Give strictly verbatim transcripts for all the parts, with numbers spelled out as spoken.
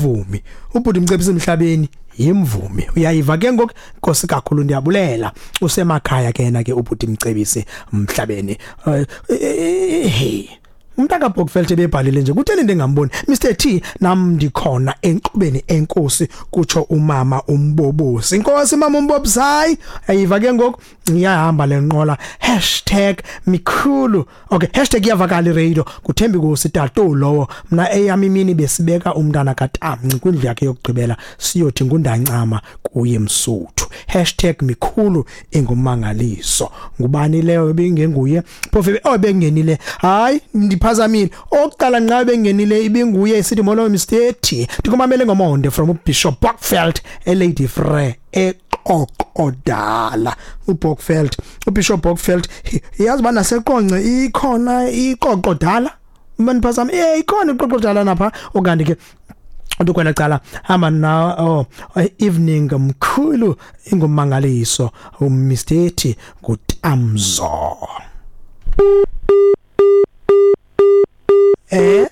Vumi ubhuti Mcebisi Emhlabeni yimvumi, uyayiva ke ngoku. Nkosi kakhulu, ndiyabulela. Usemakhaya ke yena ke ubhuti Mcebisi Mhlabeni. Hey, umntaka Bokveld ebebhalile nje, kutheni ndingamboni? Mister T, nam ndikhona enkqubeni, enkosi, kutsho umama umbobosi. Inkosi mama umbobosi. Hayi, ayiva ke ngoku, iyahamba lenqola. Hashtag mikhulu, okay, hashtag iyavakala iradio. Kuthembi kusi tato lowo. Mna eyami imini besibeka umntana kaTamnci kwindlu yakhe yokugqibela, siyothi ngundancama kuye Msuthu. Hashtag mikhulu ingumangaliso. Ngubani leyo ebingenguye phofu? Oh, bengenile. Hayi, ndiphazamile. Okuqala nqa bengenile ibinguye isithi molo Mister T, ndikumamele ngomonde from uBishop Bockfeld eLady Frere eQoqodala. uBockfeld, uBishop Bockfeld, yazi bana seqonce ikhona iQoqodala, maniphazama, eh ikhona iQoqodala napha. Okanti ke uthi kwela cala hamba na, oh, evening mkhulu, ingumangaliso uMister T nguTamzo. Eh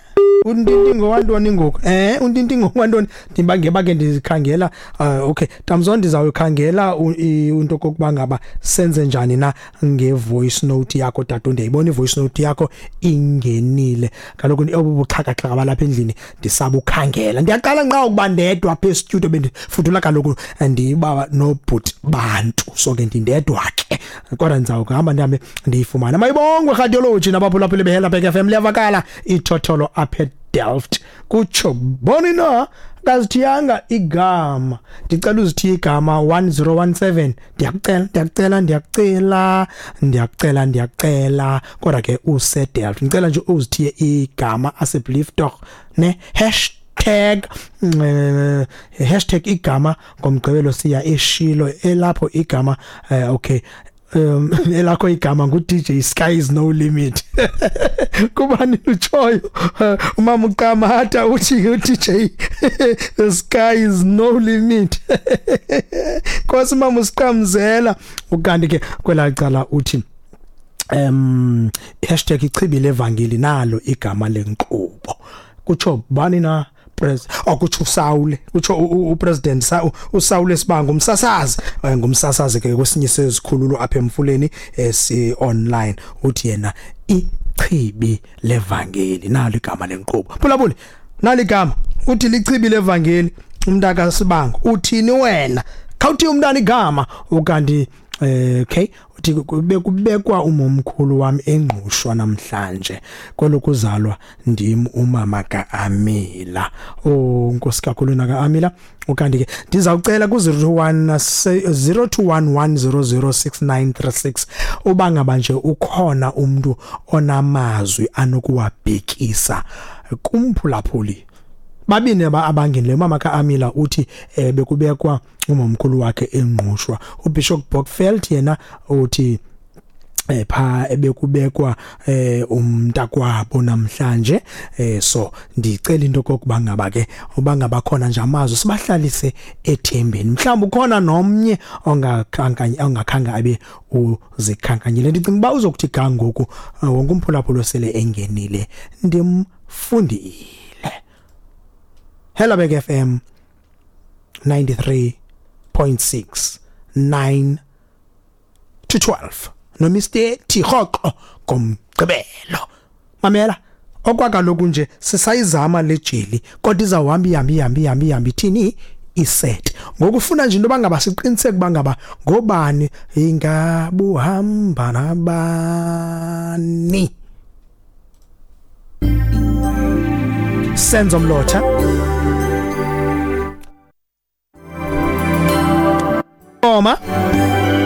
untintingo wantoni ngoku? Eh untintingo wantoni? Ndibangeba ke ndikhangela. uh, okay Tamzo, ndizawukhangela into kokuba ngaba senze njani na nge-voice note yakho tata. Ndiyayibona i-voice note yakho ingenile kaloku. Obu buxhakaxhaka balapha endlini ndisabukhangela. Ndiyaqala nqa ukuba ndedwa apha estudio, bendifudula kaloku ndiba nobhuti bantu, so ke ndindedwa ke, kodwa ndizawuhamba ndihambe ndiyifumane. Mayibongwe radiology nabaphulaphuli beHelabek F M. Liyavakala ithotholo apha eDelft, kutsho boni na kazithiyanga igama. Ndicela uzithiye igama one zero one seven, ndiyakucela, ndiyakucela, ndiyakucela, ndiyakucela, ndiyakucela. Kodwa ke useDelft, ndicela nje uzithiye igama asseblief tog ne hashtag eh, hashtag igama. Ngomgqibelo siya eshilo elapho igama. eh, okay um elakho igama ngu D J Sky is no limit. Kubani utshoyo? Umama uQamata uthi u D J the sky is no limit. Nkosi mama usiqamzela. Ukanti ke kwela cala uthi um hashtag ichibi levangeli, nalo igama lenkqubo. Kutsho bani na? Pres okutsho uSaule, kutsho upresident uSaule Sibango, umsasazi, ngumsasazi ke kwesinye sezikhululo apha emfuleni esi online. Uthi yena ichibi levangeli, nalo igama lenkqubo. Phulaphuli, nalo igama, uthi lichibi levangeli umntaka Sibango. Uthini wena? Khawuthi umntana igama. Ukanti eh okay, uthi bekubekwa umomkhulu wami engqushwa namhlanje, kwelokuzalwa ndim umama kaAmila. Oh, nkosi kakhulu naka Amila. Ukanti ke ndizawucela ku zero one zero two one one zero zero six nine three six uba ngaba nje ukhona umuntu onamazwi anokuwabhekisa kumphulaphuli. Babini abangenileyo. Umama kaAmila uthi eh, bekubekwa umomkhulu wakhe engqushwa. uBishop Bockfeld yena uthi eh pha ebekubekwa eh umntakwabo namhlanje. eh so ndicela into kokuba ngaba ke uba ngaba khona nje amazwi, sibahlalise ethembeni. Mhlawumbe ukhona nomnye ongakhankanya ongakhanga abe uzikhankanyile. Ndicinga uba uzokuthi ga ngoku wonke umphulaphula sele engenile ndimfundile. Hello F M ninety-three point six, nine to twelve no Mister T rhoqo ngomgqibelo. Mamela, okwakaloku nje sisayizama le jeli, kodwa izawuhamba ihambe ihambe ihambe ihambe ithini iset. Ngokufuna nje into bangaba siqiniseke uba ngaba ngobani ingabuhamba nabani. Senzo Mlotha Oma.